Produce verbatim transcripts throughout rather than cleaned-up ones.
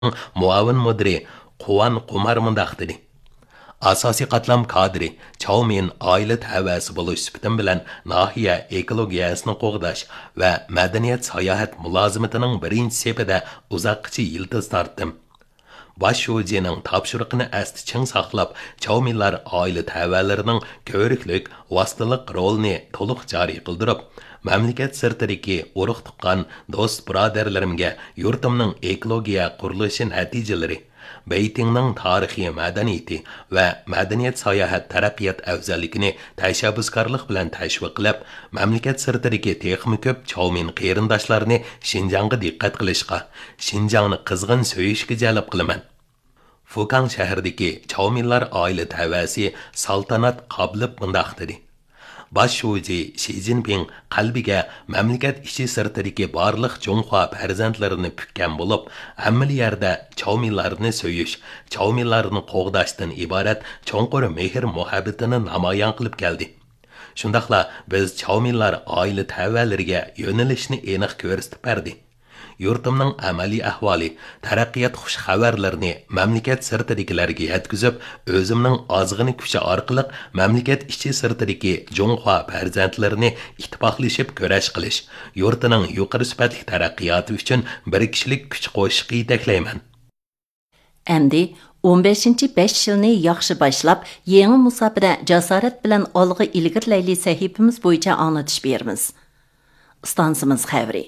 مۇئاۋىن مۇدىرى قۇۋان قۇمار مۇنداق دېدى: ئاساسىي قاتلام كادىرى چاۋ مىن ئائىلە تەۋەسى بولۇش سۈپىتىم بىلەن ناھىيە ئېكولوگىيەسىنى قوغداش ۋە مەدەنىيەت ساياھەت مۇلازىمىتىنىڭ بىرىنچى سېپىدە ئۇزاققىچە يىلتىز تارتتىم. باش شۇجىنىڭ تاپشۇرۇقىنى ئەستە چىڭ ساقلاپ، چاۋمىنلار ئائىلە تەۋەلىرىنىڭ كۆۋرۈكلۈك، ۋاسىتىلىق رولىنى تولۇق جارى قىلدۇرۇپ، مەملىكەت سىرتىدىكى ئۇرۇق-تۇغقان، دوست-بۇرادەرلىرىمگە يۇرتۇمنىڭ ئېكولوگىيە قۇرۇلۇشى نەتىجىلىرى، بېيتىڭنىڭ تارىخىي مەدەنىيىتى ۋە مەدەنىيەت ساياھەت تەرەققىيات ئەۋزەللىكىنى تەشەببۇسكارلىق بىلەن تەشۋىق قىلىپ، مەملىكەت سىرتىدىكى تېخىمۇ كۆپ چاۋمىن قېرىنداشلارنى شىنجاڭغا دىققەت قىلىشقا، شىنجاڭنى قىزغىن سۆيۈشكە جەلپ قىلىمەن. فۇكاڭ شەھىرىدىكى چاۋمىنلار ئائىلە تەۋەسى سالتانات قابلىپ مۇنداق دېدى: باش شۇجى شى جىنپىڭ قەلبىگە مەملىكەت ئىچى سىرتىدىكى بارلىق جۇڭخۇا پەرزەنتلىرىنى پۈككەن بولۇپ، ھەممىلا يەردە چاۋمىنلارنى سۆيۈش، چاۋمىنلارنى قوغداشتىن ئىبارەت چوڭقۇر مېھىر-مۇھەببىتىنى نامايان قىلىپ كەلدى. شۇنداقلا بىز چاۋمىنلار ئائىلە تەۋەلىرىگە يۆنىلىشنى ئېنىق كۆرسىتىپ بەردى. يۇرتۇمنىڭ ئەمەلىي ئەھۋالى، تەرەققىيات خۇش خەۋەرلىرىنى مەملىكەت سىرتىدىكىلەرگە يەتكۈزۈپ، ئۆزۈمنىڭ ئازغىنە كۈچى ئارقىلىق مەملىكەت ئىچى سىرتىدىكى جۇڭخۇا پەرزەنتلىرىنى ئىتتىپاقلىشىپ كۈرەش قىلىش، يۇرتىنىڭ يۇقىرى سۈپەتلىك تەرەققىياتى ئۈچۈن بىر كىشىلىك كۈچ قوشۇشقا يېتەكلەيمەن. ئەمدى ئون بەشىنچى بەش يىلنى ياخشى باشلاپ، يېڭى مۇساپىدە جاسارەت بىلەن ئالغا ئىلگىرىلەيلى سەھىپىمىز بويىچە ئاڭلىتىش بېرىمىز. ئىستانسىمىز خەۋىرى.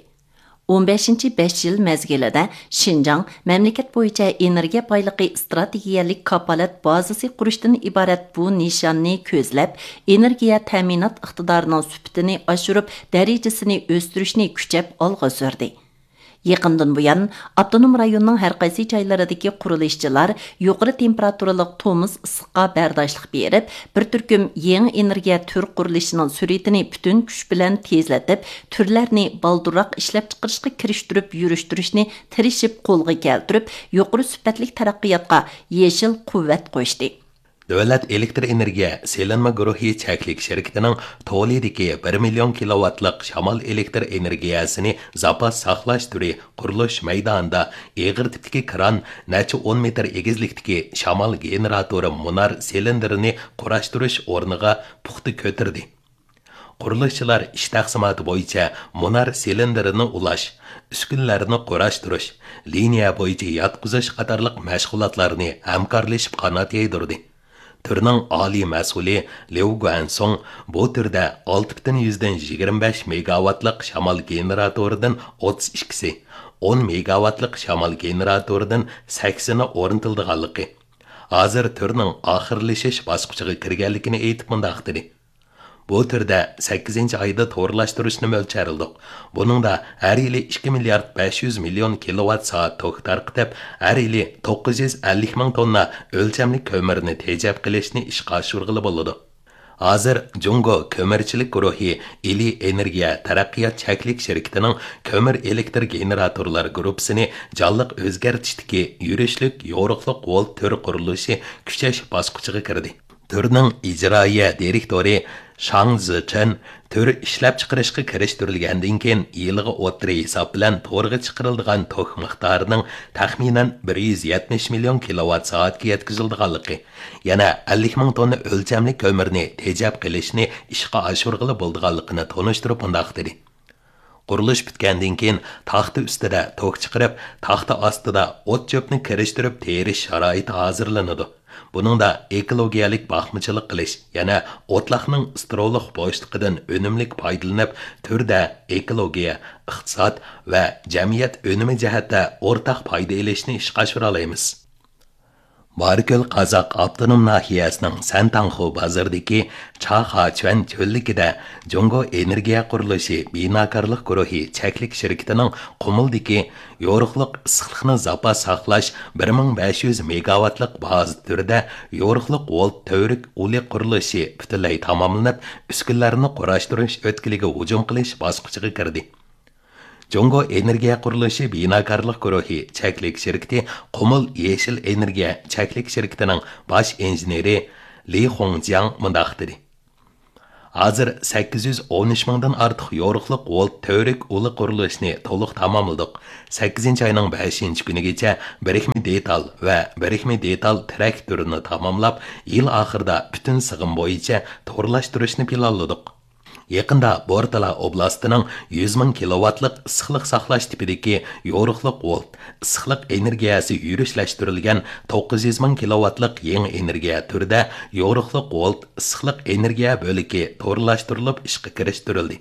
ئون بەشىنچى بەش يىل مەزگىلىدە شىنجاڭ مەملىكەت بويىچە ئېنېرگىيە بايلىقى ئىستراتېگىيەلىك كاپالەت بازىسى قۇرۇشتىن ئىبارەت بۇ نىشاننى كۆزلەپ، ئېنېرگىيە تەمىنات ئىقتىدارىنىڭ سۈپىتىنى ئاشۇرۇپ، دەرىجىسىنى ئۆستۈرۈشنى كۈچەپ ئالغا سۈردى. يېقىندىن بۇيان، ئاپتونوم رايوننىڭ ھەر قايسى جايلىرىدىكى قۇرۇلۇشچىلار يۇقىرى تېمپېراتۇرىلىق تومۇز ئىسسىققا بەرداشلىق بېرىپ، بىر تۈركۈم يېڭى ئېنېرگىيە تۈر قۇرۇلۇشىنىڭ سۈرئىتىنى پۈتۈن كۈچ بىلەن تېزلىتىپ، تۈرلەرنى بالدۇرراق ئىشلەپچىقىرىشقا كىرىشتۈرۈپ يۈرۈشتۈرۈشنى تىرىشىپ قولغا كەلتۈرۈپ، يۇقىرى سۈپەتلىك تەرەققىياتقا يېشىل قۇۋۋەت قوشتى. دۆلەت ئېلېكتر ئېنېرگىيە سېلىنما گۇرۇھى چەكلىك شىركىتىنىڭ تولىدىكى بىر مىليون كىلوۋاتلىق شامال ئېلېكتر ئېنېرگىيەسىنى زاپاس ساقلاش تۈرى قۇرۇلۇش مەيدانىدا ئېغىر تىپتىكى كران نەچچە ئون مېتىر ئېگىزلىكتىكى شامال گېنېراتورى مۇنار سىلىندىرىنى قۇراشتۇرۇش ئورنىغا پۇختا كۆتۈردى. قۇرۇلۇشچىلار ئىش تەقسىماتى بويىچە مۇنار سىلىندىرىنى ئۇلاش، ئۈسكۈنىلەرنى قۇراشتۇرۇش، لىنىيە بويىچە ياتقۇزۇش قاتارلىق مەشغۇلاتلارنى ھەمكارلىشىپ قانات يايدۇردى. تۈرنىڭ ئالىي مەسئۇلى ليۇ گۇەنسۇڭ بۇ تۈردە ئالتە پۈتۈن يۈزدىن يىگىرمە بەش مېگاۋاتلىق شامال گېنېراتورىدىن ئوتتۇز ئىككىسى، ئون مېگاۋاتلىق شامال گېنېراتورىدىن سەكسىنى ئورنىتىلىدىغانلىقى، ھازىر تۈرنىڭ ئاخىرلىشىش باسقۇچىغا كىرگەنلىكىنى ئېيتىپ مۇنداق دېدى: بۇ تۈردە سەككىزىنچى ئايدا تورلاشتۇرۇشنى مۆلچەرلىدۇق. بۇنىڭدا ھەر يىلى ئىككى مىليارد بەش يۈز مىليون كىلوۋات سائەت توك تارقىتىپ، ھەر يىلى توققۇز يۈز ئەللىك مىڭ توننا ئۆلچەملىك كۆمۈرنى تېجەپ قېلىشنى ئىشقا ئاشۇرغىلى بولىدۇ. ھازىر جۇڭگو كۆمۈرچىلىك گۇرۇھى ئىلى ئېنېرگىيە تەرەققىيات چەكلىك شىركىتىنىڭ كۆمۈر ئېلېكتر گېنېراتورلار گۇرۇپپىسىنى جانلىق ئۆزگەرتىشتىكى يۈرۈشلۈك يورۇقلۇق ۋولت تۈر قۇرۇلۇشى كۈچەش باسقۇچىغا كىردى. تۈرنىڭ ئىجرائىيە دىرېكتورى شاڭ زىچېن تۈر ئىشلەپچىقىرىشقا كىرىشتۈرۈلگەندىن كېيىن، يىلىغا ئوتتۇرا ھېساب بىلەن تورغا چىقىرىلىدىغان توك مىقدارىنىڭ تەخمىنەن بىر يۈز يەتمىش مىليون كىلوۋات سائەتكە يەتكۈزۈلىدىغانلىقى، يەنە ئەللىك مىڭ توننا ئۆلچەملىك كۆمۈرنى تېجەپ قېلىشنى ئىشقا ئاشۇرغىلى بولىدىغانلىقىنى تونۇشتۇرۇپ مۇنداق دېدى: قۇرۇلۇش پۈتكەندىن كېيىن، تاختا ئۈستىدە توك چىقىرىپ، تاختا ئاستىدا ئوت-چۆپنى كىرىشتۈرۈپ تېرىش شارائىتى ھازىرلىنىدۇ. بۇنىڭدا ئېكولوگىيەلىك باقمىچىلىق قىلىش، يەنە ئوتلاقنىڭ ستېرىللىق بوشلۇقىدىن ئۈنۈملۈك پايدىلىنىپ، تۈردە ئېكولوگىيە، ئىقتىساد ۋە جەمئىيەت ئۈنۈمى جەھەتتە ئورتاق پايدا ئېلىشنى ئىشقا ئاشۇرالايمىز. بارىكۆل قازاق ئاپتونوم ناھىيەسىنىڭ سەنتاڭخۇ بازىرىدىكى چاخاچۈەن چۆللۈكىدە جۇڭگو ئېنېرگىيە قۇرۇلۇشى بىناكارلىق گۇرۇھى چەكلىك شىركىتىنىڭ قۇمۇلدىكى يورۇقلۇق ئىسسىقلىقنى زاپاس ساقلاش بىر مىڭ بەش يۈز مېگاۋاتلىق بازا تۈرىدە يورۇقلۇق ۋولت تۈۋرۈك ئۇلى قۇرۇلۇشى پۈتۈنلەي تاماملىنىپ، ئۈسكۈنىلەرنى قۇراشتۇرۇش ئۆتكىلىگە ھۇجۇم قىلىش باسقۇچىغا كىردى. جۇڭگو ئېنېرگىيە قۇرۇلۇشى بىناكارلىق گۇرۇھى چەكلىك شىركىتى قۇمۇل يېشىل ئېنېرگىيە چەكلىك شىركىتىنىڭ باش ئىنژېنېرى لى خۇڭجياڭ مۇنداق دېدى: ھازىر سەككىز يۈز ئون ئۈچ مىڭدىن ئارتۇق يورۇقلۇق ۋولت تۈۋرۈك ئۇلى قۇرۇلۇشىنى تولۇق تاماملىدۇق. سەككىزىنچى ئاينىڭ بەشىنچى كۈنىگىچە بىرىكمە دېتال ۋە بىرىكمە دېتال تىرەك تۈرىنى تاماملاپ، يىل ئاخىرىدا پۈتۈن سىغىم بويىچە تورلاشتۇرۇشنى پىلانلىدۇق. يېقىندا بورتالا ئوبلاستىنىڭ يۈز مىڭ كىلوۋاتلىق ئىسسىقلىق ساقلاش تىپىدىكى يورۇقلۇق ۋولت ئىسسىقلىق ئېنېرگىيەسى يۈرۈشلەشتۈرۈلگەن توققۇز يۈز مىڭ كىلوۋاتلىق يېڭى ئېنېرگىيە تۈرىدە يورۇقلۇق ۋولت ئىسسىقلىق ئېنېرگىيە بۆلىكى تورلاشتۇرۇلۇپ ئىشقا كىرىشتۈرۈلدى.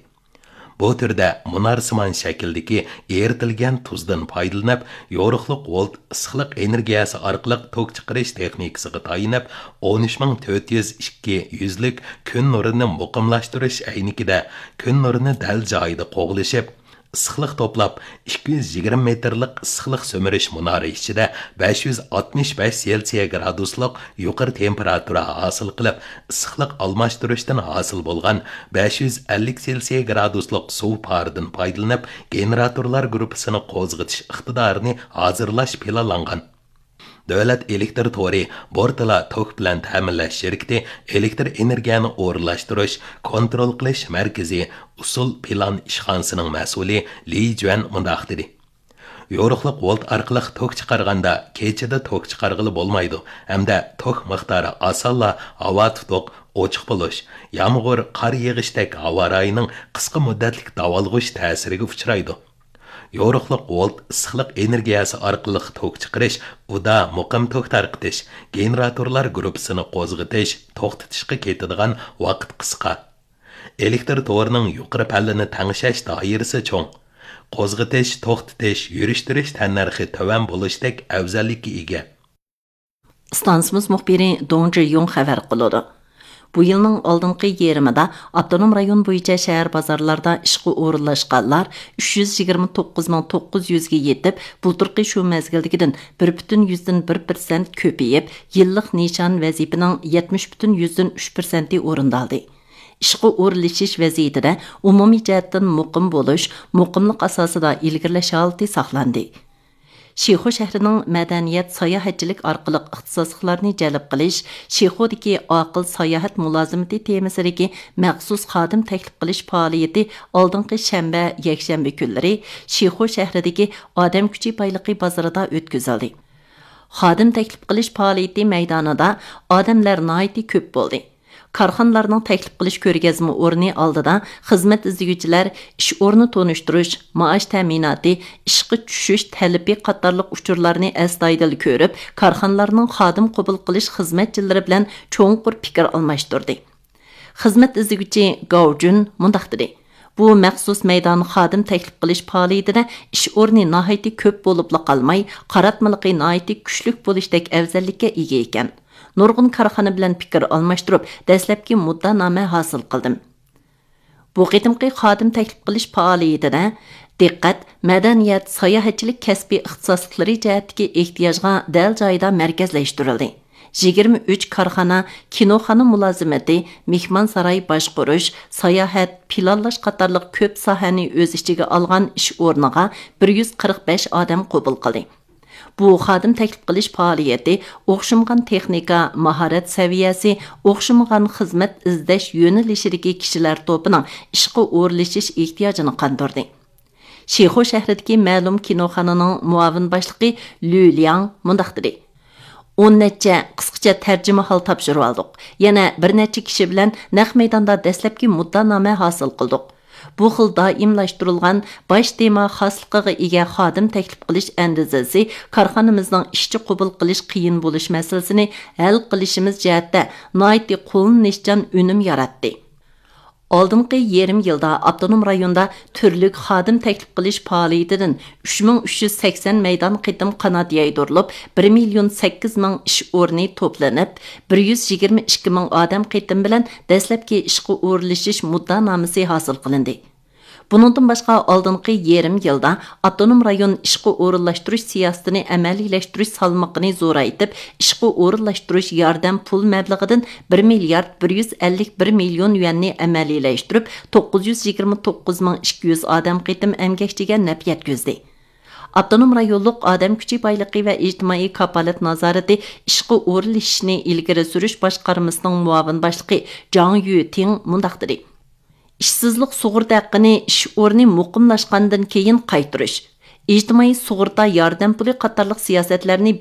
بۇ تۈردە مۇنارسىمان شەكىلدىكى ئېرىتىلگەن تۇزدىن پايدىلىنىپ، يورۇقلۇق ۋولت ئىسسىقلىق ئېنېرگىيەسى ئارقىلىق توك چىقىرىش تېخنىكىسىغا تايىنىپ، ئون ئۈچ مىڭ تۆت يۈز ئىككى يۈزلۈك كۈن نۇرىنى مۇقىملاشتۇرۇش ئەينىكىدە كۈن نۇرىنى دەل جايىدا قوغلىشىپ، ئىسسىقلىق توپلاپ، ئىككى يۈز يىگىرمە مېتىرلىق ئىسسىقلىق سۈمۈرۈش مۇنارى ئىچىدە بەش يۈز ئاتمىش بەش سېلسىيە گرادۇسلۇق يۇقىرى تېمپېراتۇرا ھاسىل قىلىپ، ئىسسىقلىق ئالماشتۇرۇشتىن ھاسىل بولغان بەش يۈز ئەللىك سېلسىيە گرادۇسلۇق سۇ پارىدىن پايدىلىنىپ، گېنېراتورلار گۇرۇپپىسىنى قوزغىتىش ئىقتىدارىنى ھازىرلاش پىلانلانغان. دۆلەت ئېلېكتىر تورى بورتالا توك بىلەن تەمىنلەش شىركىتى ئېلېكتىر ئېنېرگىيەنى ئورۇنلاشتۇرۇش، كونترول قىلىش مەركىزى ئۇسۇل پىلان ئىشخانىسىنىڭ مەسئۇلى لى جۈەن مۇنداق دېدى: يورۇقلۇق ۋولت ئارقىلىق توك چىقارغاندا، كېچىدە توك چىقارغىلى بولمايدۇ ھەمدە توك مىقدارى ئاسانلا ھاۋا تۇتۇق، ئوچۇق بولۇش، يامغۇر، قار يېغىشتەك ھاۋا رايىنىڭ قىسقا مۇددەتلىك داۋالغۇش تەسىرىگە ئۇچرايدۇ. يورۇقلۇق ۋولت ئىسسىقلىق ئېنېرگىيەسى ئارقىلىق توك چىقىرىش، ئۇدا مۇقىم توك تارقىتىش، گېنېراتورلار گۇرۇپپىسىنى قوزغىتىش، توختىتىشقا كېتىدىغان ۋاقىت قىسقا. ئېلېكتىر تورىنىڭ يۇقىرى پەللىنى تەڭشەش دائىرىسى چوڭ. قوزغىتىش، توختىتىش، يۈرۈشتۈرۈش تەننەرخى تۆۋەن بولۇشتەك ئەۋزەللىككە ئىگە. ئىستانسىمىز مۇخبىرى دۇڭ جىيۇڭ خەۋەر قىلىدۇ. بۇ يىلنىڭ ئالدىنقى يېرىمىدا ئاپتونوم رايون بويىچە شەھەر بازارلاردا ئىشقا ئورۇنلاشقانلار ئۈچ يۈز يىگىرمە توققۇز مىڭ توققۇز يۈزگە يېتىپ، بۇلتۇرقى شۇ مەزگىلدىكىدىن بىر پۈتۈن يۈزدىن بىر پىرسەنت كۆپىيىپ، يىللىق نىشان ۋەزىپىنىڭ يەتمىش پۈتۈن يۈزدىن ئۈچ پىرسەنتى ئورۇندالدى. ئىشقا ئورۇنلىشىش ۋەزىيىتىدە ئومۇمىي جەھەتتىن مۇقىم بولۇش، مۇقىملىق ئاساسىدا ئىلگىرىلەش ھالىتى ساقلاندى. شىخۇ شەھىرىنىڭ مەدەنىيەت، ساياھەتچىلىك ئارقىلىق ئىختىساسلىقلارنى جەلپ قىلىش، شىخۇدىكى ئاقىل ساياھەت مۇلازىمىتى تېمىسىدىكى مەخسۇس خادىم تەكلىپ قىلىش پائالىيىتى ئالدىنقى شەنبە، يەكشەنبە كۈنلىرى شىخۇ شەھىرىدىكى ئادەم كۈچى بايلىقى بازىرىدا ئۆتكۈزۈلدى. خادىم تەكلىپ قىلىش پائالىيىتى مەيدانىدا ئادەملەر ناھايىتى كۆپ بولدى. كارخانىلارنىڭ تەكلىپ قىلىش كۆرگەزمە ئورنى ئالدىدا خىزمەت ئىزدىگۈچىلەر ئىش ئورنى تونۇشتۇرۇش، مائاش تەمىناتى، ئىشقا چۈشۈش تەلىپى قاتارلىق ئۇچۇرلارنى ئەستايىدىل كۆرۈپ، كارخانىلارنىڭ خادىم قوبۇل قىلىش خىزمەتچىلىرى بىلەن چوڭقۇر پىكىر ئالماشتۇردى. خىزمەت ئىزدىگۈچى گاۋ جۈن مۇنداق دېدى: بۇ مەخسۇس مەيدان خادىم تەكلىپ قىلىش پائالىيىتىدە ئىش ئورنى ناھايىتى كۆپ بولۇپلا قالماي، قاراتمىلىقى ناھايىتى كۈچلۈك بولۇشتەك ئەۋزەللىككە ئىگە ئىكەن. نۇرغۇن كارخانا بىلەن پىكىر ئالماشتۇرۇپ، دەسلەپكى مۇددانامە ھاسىل قىلدىم. بۇ قېتىمقى خادىم تەكلىپ قىلىش پائالىيىتىدە دىققەت مەدەنىيەت، ساياھەتچىلىك كەسپىي ئىختىساسلىقلىرى جەھەتتىكى ئېھتىياجغا دەل جايىدا مەركەزلەشتۈرۈلدى. يىگىرمە ئۈچ كارخانا، كىنوخانا مۇلازىمىتى، مېھمانساراي باشقۇرۇش، ساياھەت، پىلانلاش قاتارلىق كۆپ ساھەنى ئۆز ئىچىگە ئالغان ئىش ئورنىغا بىر يۈز قىرىق بەش ئادەم قوبۇل قىلدى. بۇ خادىم تەكلىپ قىلىش پائالىيىتى ئوخشىمىغان تېخنىكا، ماھارەت سەۋىيەسى، ئوخشىمىغان خىزمەت ئىزدەش يۆنىلىشىدىكى كىشىلەر توپىنىڭ ئىشقا ئورۇنلىشىش ئېھتىياجىنى قاندۇردى. شىخۇ شەھىرىدىكى مەلۇم كىنوخانىنىڭ مۇئاۋىن باشلىقى لۈ لياڭ مۇنداق دېدى: ئون نەچچە قىسقىچە تەرجىمىھال تاپشۇرۇۋالدۇق. يەنە بىر نەچچە كىشى بىلەن نەق مەيداندا دەسلەپكى مۇددانامە ھاسىل قىلدۇق. بۇ خىل دائىملاشتۇرۇلغان باش تېما خاسلىقىغا ئىگە خادىم تەكلىپ قىلىش ئەندىزىسى كارخانىمىزنىڭ ئىشچى قوبۇل قىلىش قىيىن بولۇش مەسىلىسىنى ھەل قىلىشىمىز جەھەتتە ناھايىتى قوللىنىشچان ئۈنۈم ياراتتى. ئالدىنقى يېرىم يىلدا ئاپتونوم رايوندا تۈرلۈك خادىم تەكلىپ قىلىش پائالىيىتىدىن ئۈچ مىڭ ئۈچ يۈز سەكسەن مەيدان قېتىم قانات يايدۇرۇلۇپ، بىر مىليون سەككىز مىڭ ئىش ئورنى توپلىنىپ، بىر يۈز يىگىرمە ئىككى مىڭ ئادەم قېتىم بىلەن دەسلەپكى ئىشقا ئورۇنلىشىش مۇددانامىسى ھاسىل قىلىندى. بۇنىڭدىن باشقا، ئالدىنقى يېرىم يىلدا ئاپتونوم رايون ئىشقا ئورۇنلاشتۇرۇش سىياسىتىنى ئەمەلىيلەشتۈرۈش سالمىقىنى زورايتىپ، ئىشقا ئورۇنلاشتۇرۇش ياردەم پۇل مەبلىغىدىن بىر مىليارد بىر يۈز ئەللىك بىر مىليون يۈەننى ئەمەلىيلەشتۈرۈپ، توققۇز يۈز يىگىرمە توققۇز مىڭ ئىككى يۈز ئادەم قېتىم ئەمگەكچىگە نەپ يەتكۈزدى. ئاپتونوم رايونلۇق ئادەم كۈچى بايلىقى ۋە ئىجتىمائىي كاپالەت نازارىتى ئىشقا ئورۇنلىشىشنى ئىلگىرى سۈرۈش باشقارمىسىنىڭ مۇئاۋىن باشلىقى جاڭ يۈتىڭ مۇنداق دېدى: ئىشسىزلىق سۇغۇرتا ھەققىنى ئىش ئورنى مۇقىملاشقاندىن كېيىن قايتۇرۇش، ئىجتىمائىي سۇغۇرتا ياردەم پۇلى قاتارلىق سىياسەتلەرنى